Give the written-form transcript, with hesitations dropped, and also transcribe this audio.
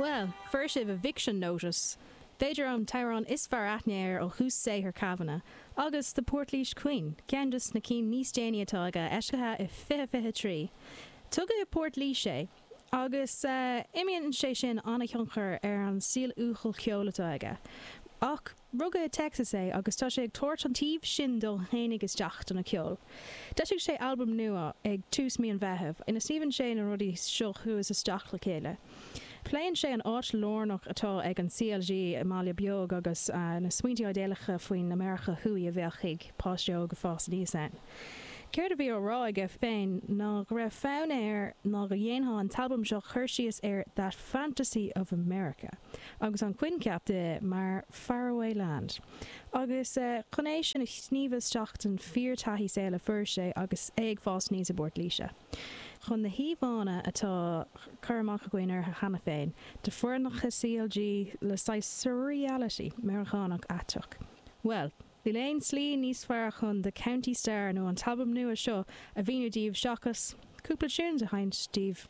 Bhuel, fuair sibh eviction notice, b'fhéidir an t-amhrán is fearr aithne air ó thús saothair Kavanagh, agus The Portlaoise Queen, ceann de na cinn níos déanaí atá aige, eisithe i 2023. Tógadh i bPort Laoise é, agus imríonn sé sin an-thionchar ar an stíl uathúil ceoil atá aige. Ach rugadh i Texas é agus tá sé ag tabhairt an taobh sin dó fhéinig isteach dona ceol. D'eisigh sé albam nua ag tús mí an Mheithimh ina sníomhann sé na rudaí seo thuas isteach le chéile. Pléann sé an áit lárnach atá ag an CLG i mbaile beag agus na smaointe idéalacha faoin America Thuaidh a bheadh ag páiste óg ag fás aníos ann. Céard a bhí á rá aige féin ná go raibh fonn air ná go dhéanfadh an t-albam seo cur síos ar that fantasy of America agus an coincheap de mar faraway land agus chun é sin a shníomhadh isteach den fíor-taithí saoil a fuair sé agus é ag fás aníos i bPort Laoise. Chun na híomhánna atá cur amach againn orthu cheana féin de foirneacha CLG le saghas surreality Meiriceánach aiteach, bhuel, Níl aon tslí níos fearr chun The County Star nó an t-albam nua seo a mhíniú daoibh seachas cúpla tunes a sheinnt daoibh.